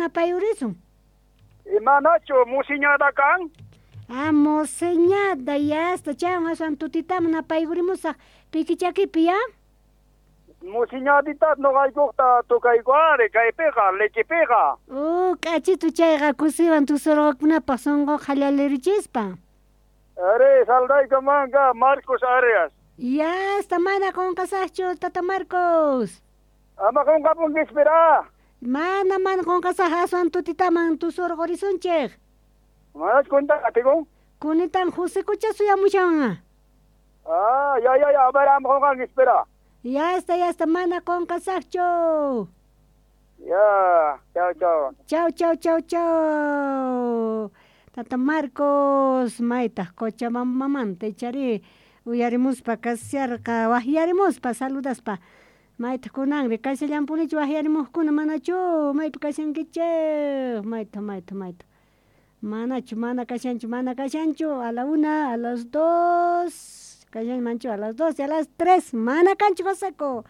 Napayurisun. Imanachu musiñada kan? Ah, moseñada, yasta, chaywan aswan tutitaman napaykurimusaq pikichakipi, ya? Musiñadita noqaykuqta tukayku ari kaypiqa, lechipiqa. Oh, k'achitu chayqa kusiwan tusurqakunapaq sunquqa hallalirichispa. Ari, saldayku manka Marcos Arias. Yasta, mana qunqasaqchu, tata Marcos. Ama qunqapunkispira. Mana, mana qunqasaq aswan tutitaman tusurqurisunchik. Manach kunta atikun? Kunitan Josekucha suyamushan. Ah, ya, ya, ya, a ver, ama qunqankispira. Yasta, yasta, mana qunqasaqchu. Ya, chao, chao. Chau, chau, chau, chau. Tata Marcos, maytaq Cochabambamanta ichari uyarimuspa kasharqa waqyarimuspa saludaspa. Maytaq kunanri kashallampunichu waqyarimuqkuna manachu maypi kashankichik mayta mayta mayta. Manachu mana kashanchu mana kashanchu a la una a las dos kashanmanchu a las dos y a las tres mana kanchu Joseco.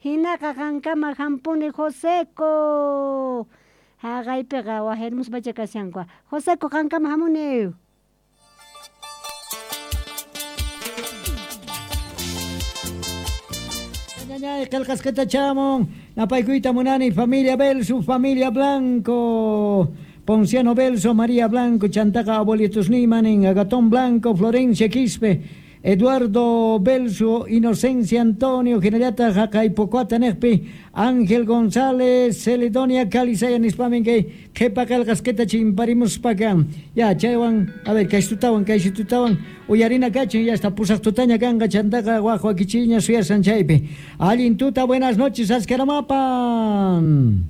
Hinaqa qankama hampuni Joseco. Haqaypiqa waqyarimuspacha kashanku. Joseco qankama hamuni. Ñañay, qillqasqata chamun, napaykuyta munani, familia Belso, familia Blanco, Ponciano Belso, María Blanco, Chantaqa abuelitos Nimanin, Agatón Blanco, Florencia Quispe, Eduardo Belso, Inocencia Antonio, Generata Jacaipocuata Nejpi, Ángel González, Celedonia Calizaya nispamin kay qhipa qillqasqita chimparimuspaqa. Ya, chaywan, a ver, kaystutawan, kaystutawan, uyarina kachin, ya está pusaq tutaña kanqa chantaqa waj wakichiña suyasan chaypi. Allin tuta, buenas noches, Ascaramapan.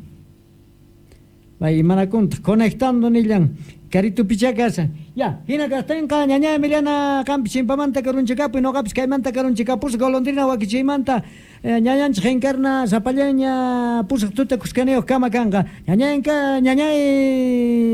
Bay, manakunta, conectando nillan. Carito pichacasa. Ya, hina kastenqa ñaña Emiliana qampi chimpamanta karunchikapuy noqapis kaymanta karunchikapus golondrina wakichiymanta ñañanchik encarna sapallaña pusaq tuta kuskaniyuq kama kanqa. Ñañanka ñañay.